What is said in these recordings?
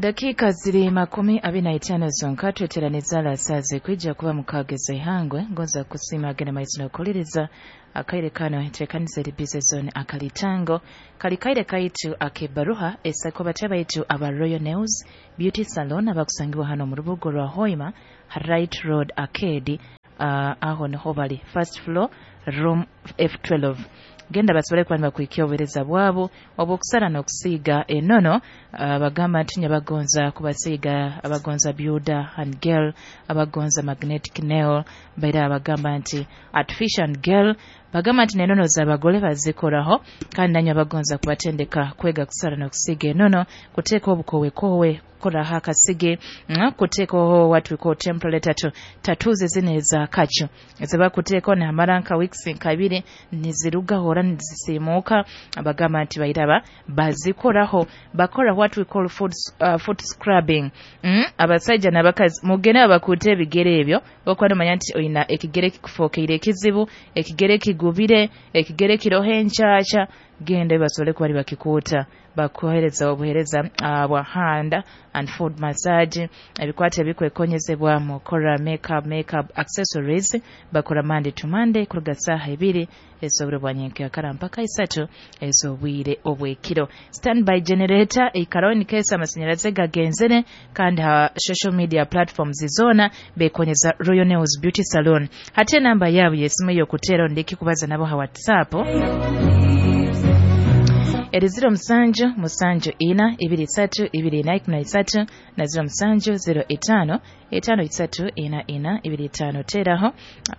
Edakika ziri 25 zonka tweteraniza alasaze kwijja kuba mukageza ihangwe ngoza kusima agenda maiso n'okukuliriza akaire kano enteekaniza eri busy zone akalitango kali kaire kaitu akebaruha esako batya baitu aba Royal Nails Beauty Salon abakusangibwa hano mu rubuga rwa Hoima Right Road Arcade, aho niho bali first floor room F12. Genda basobole kuba nibakwikia obuheereza bwabo obw'okusara n'okusiiga enono. Bagamba nti nyabagonza kubasiiga, abagonza builder and girl, abagonza magnetic nail, baira abagamba nti artificial and girl, bagamba nti n'enono z'abagole bazikoraho, kandi nanyo abagonza kubatendeka kwega kusara n'okusiiga enono, kuteeka obukowekowe, kukoraho akasige, kuteekaho what we call temporary tattoo, tattoos zino eza kacu ezibakuteekaho nihamara nka weeks nka ibiri nizirugaho ora nizisiimuuka. Bagamba nti bairaba bazikoraho, bakora what we call foot scrubbing. Abasaija n'abakazi mugende babakuute ebigere ebyo, okuba nomanya nti oyina ekigere kikufokeire ekizibu, ekigere kigubire, ekigere kiroho enkyakya, genda basobole kuba nibakikuuta, bakuhereza obuhereza bwa hand and foot massage, ebikwata ebikwekonyezebwa mukora makeup accessories, bakora Monday to Monday kuruga saaha 2 ez'obwire bwa nyenkakara mpaka 3 ez'obwire obw'ekiro. Standby generator eikaraho in case amasanyarazi gagenzere, kandi ha social media platforms zona bekonyeza Royal Nails Beauty Salon. Hati enamba yaabo y'esimu ey'okuteera ndiki kubaza nabo ha WhatsApp eri 07 7 4 2 3 2 4 13 na 07 05 5 3 4 4 2 5. Teraho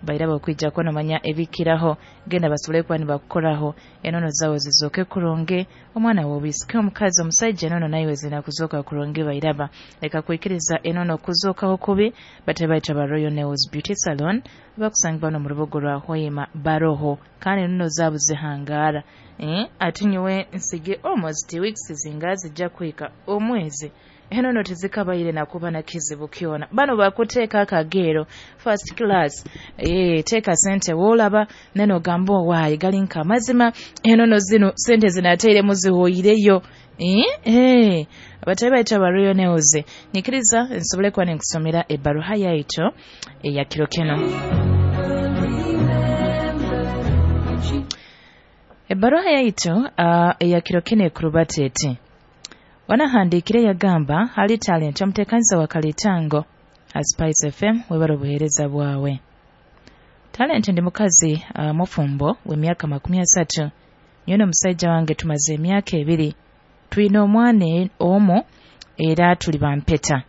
bairaba okwija kuba nomanya ebikiraho, genda basobole kuba nibakukoraho enono zawe zizooke kurungi, omwana w'obisike omukazi omusaija enono naiwe zina kuzooka kurungi. Bairaba leka kwikiriza enono kuzookaho kubi. Bate baita ba Royal Nails Beauty Salon bakusangibwa no mu rubuga rwa Hoima baroho, kandi enono zaabo zihangara. Ati nyowe nsige almost weeks zinga zijja kuhika omwezi enono tezikabaire nakuba na kizibu kyona. Bano bakuteeka akagero first class, teeka sente woolaba neno ogamba owaayi gali nka amazima, enono zino sente zinateiremu zihoireyo. Abatabi baitu aba Royal Nails, nyikiriza nsobole kuba ninkusomera ebbaruha yaitu eya kiro kino. Ebbaruha yaitu eya kiro kino ekurubata eti wanahandikire yagamba hali talent omuteekaniza wa Kalitango ha Spice FM, webara obuheereza bwawe. Talent ndi mukazi mufumbo w'emyaka 30, nyowe n'omusajja wange tumaze emyaka 2, twine omwana omu era tuli bampeta.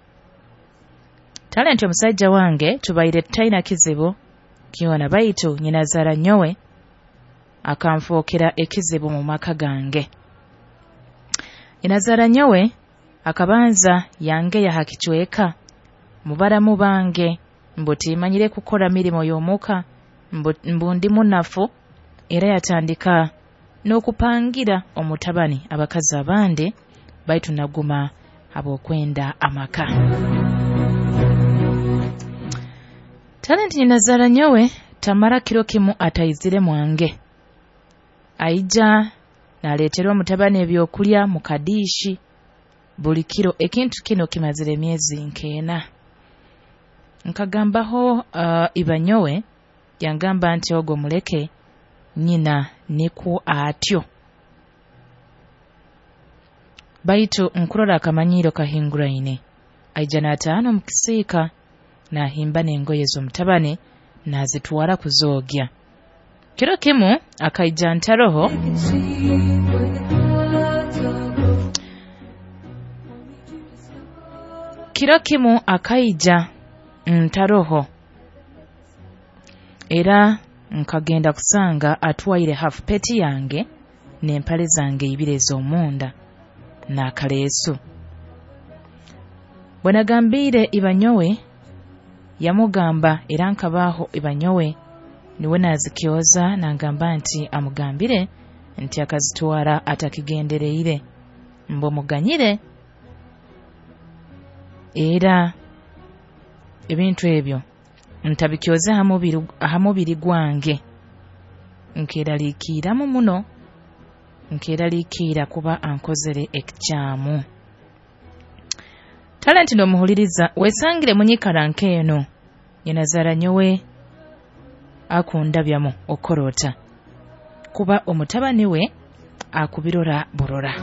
Talent omusajja wange tubaire tutaina kizibu kyona, baitu nyinazaara nyowe akanfookera ekizibu mu maka gange. Nyinazaara nyowe akabanza yangeya ha kicweka mubaramu bange mbu timanyire kukora mirimo y'omuka, mbu ndi munafu, era yatandika n'okupangira omutabani abakazi abandi, baitu naguma habw'okwenda amaka. Talent nyinazaara nyowe tamara kiro kimu ataizire mwange, aija naleetera omutabani ebyokulya mu kadiishi buli kiro. Ekintu kino kimazire emyezi nk'ena. Nkagambaho iba nyowe, yangamba nti ogwo muleke nyina nikwo atyo, baitu nkurora akamanyiiro kahinguraine. Aija n'ataana omu kisiika n'ahimba n'engoye z'omutabani n'azitwara kuzoogya. Kiro kimu akaija ntaroho, kiro kimu akaija ntaroho, era nkagenda kusanga atwaire half peti yange n'empale zange ibiri ez'omunda n'akaleesu. Bwe nagambiire iba nyowe yamugamba, era nkabaaho iba nyowe niwe nazikyoza, nangamba nti amugambire nti akazitwara atakigendereire, mbu muganyire, era ebintu ebyo ntabikyoze ha mubiri gwange. Nkeraliikiramu muno, nkeraliikira kuba ankozere ekikyamu. Talenti n'omuhuliriza wesangire munyikara nk'eno, nyinazaara nyowe akundabyamu, okora ota kuba omutabani we akubirora burora?